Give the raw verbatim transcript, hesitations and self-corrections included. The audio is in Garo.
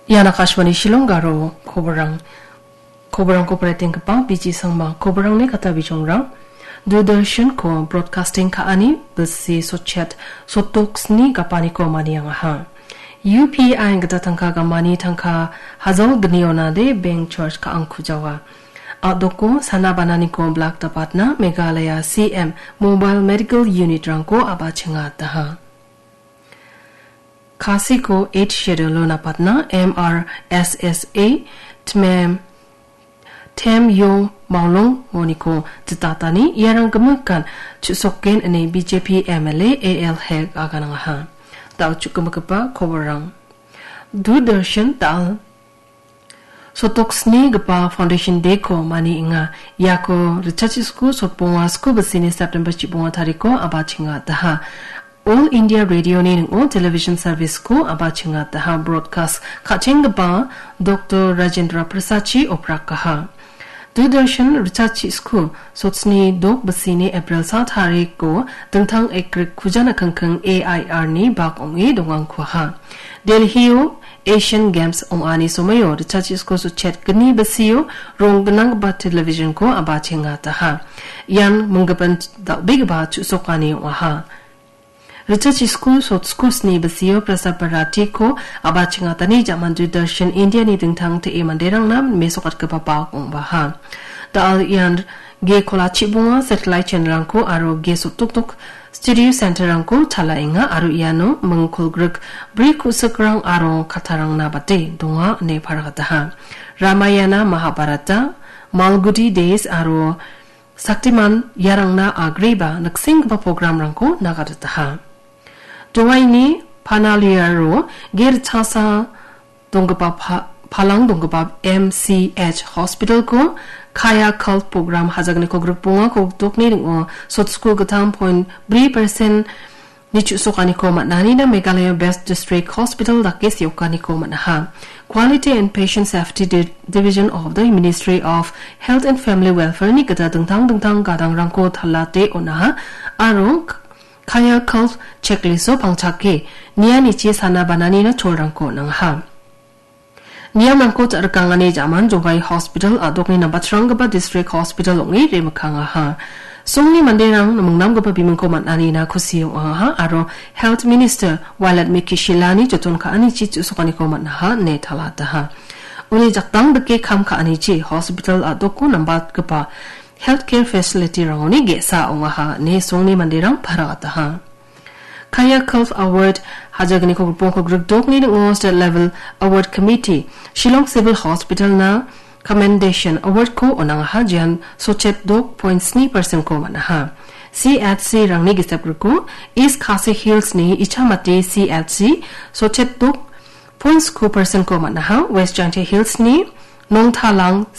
Ian Akashvani Shillong Garo koborang. Koborangko paretenggipa B G Sangma. Koborangni kata bijongrang. Doordarshan-ko broadcasting ka·ani bilsi sotchet sotok sni gapaniko maniangaha. U P I gita tangka gamani tangka hajal gniona de bank charge ka·angkujawa. A·doko sana bananiko blak dapatna Meghalaya C M Mobile Medical Unit-rangko abachenga daha. Khasiko Eighth Schedule-o napatna M R S S A Tmem Tem Yo Maolong moniko jitatani iarang gimikan chu·soken ine B J P M L A A L Hek aganangaha. Dal chukgimigipa koborang. Doordarshan dal sotok snigipa Foundation Day-ko manienga. Iako ritchachisku sotbonga sku bisini September chibonga tariko abachenga daha. All India Radio-ni ning·o television service-ko abachenga daha broadcast ka·chenggipa Doctor Rajendra Prasachi oprakaha. Doordarshan ritchachisku sotsni dok bisini April sa tariko dingtang ekrik kujana kangkang A I R-ni bak ong·e dongangkuaha. Delhi-o Asian Games ong·ani somoio ritchachisku sotchet gni bisio rong gnanggipa television-ko abachenga daha. Ian minggipa dal·begipa chu·sokani ong·aha. Ritchachisku sotsku sni bisio Prasad Bharatiko abachengatani jaman Doordarshan India-ni dingtang te·e manderangna mesokatgipa bak ong·baha. Dal ian ge kola chibonga satellite channel-rangko aro ge sotdokdok studio center-rangko chalaenga aro iano mingkolgrik bri ku·sikrang aro kattarangna bate donga ine paragataha. Ramayana, Mahabharata, Malgudi Days aro Shaktiman iarangna agreba niksenggipa program-rangko nagadataha. Dowaini Panaliaro ge ritchasa donggipa pa-, palang donggipa M C H hospital-ko Kaya Cult program hajagniko grikbonga kogdokni ning·o sotsku gittam point bri persen ni chu·sokaniko man·anina Meghalaya Best District Hospital dake seokaniko man·aha. Quality and Patient Safety Di-, Division of the Ministry of Health and Family Welfare-ni gita dingtang dingtang gadangrangko talate on·aha aro K-, Kaya Cult checklist-o pangchake nianichi sana bananina cholrangko on·angaha. Niamrangko ja-, rikangani jaman Jogai Hospital a·dokni nambatranggipa district hospital ong·e remikkangaha. Songni manderang mingnamgipa bimingko man·anina kusi ong·aha aro Health Minister Violet Miki Shilani joton ka·anichi chu·sokaniko man·aha ine talataha. Uni jakdang dike kam ka·anichi hospital a·doko nambatgipa healthcare facility-rangoni ge·sa ong·aha ine songni manderang paragataha. Kaya Cult Award hajagniko grikbongko grikdokni ning·o State Level Award Committee, Shillong Civil Hospital-na Commendation Award-ko on·angaha, jean sotchet dok point sni persen-ko man·aha. C H C-rangni gisep griko East Khasi Hills-ni Ichamati C H C sotchet dok point sku persen-ko man·aha, West Jaintia Hills-ni Nongtalang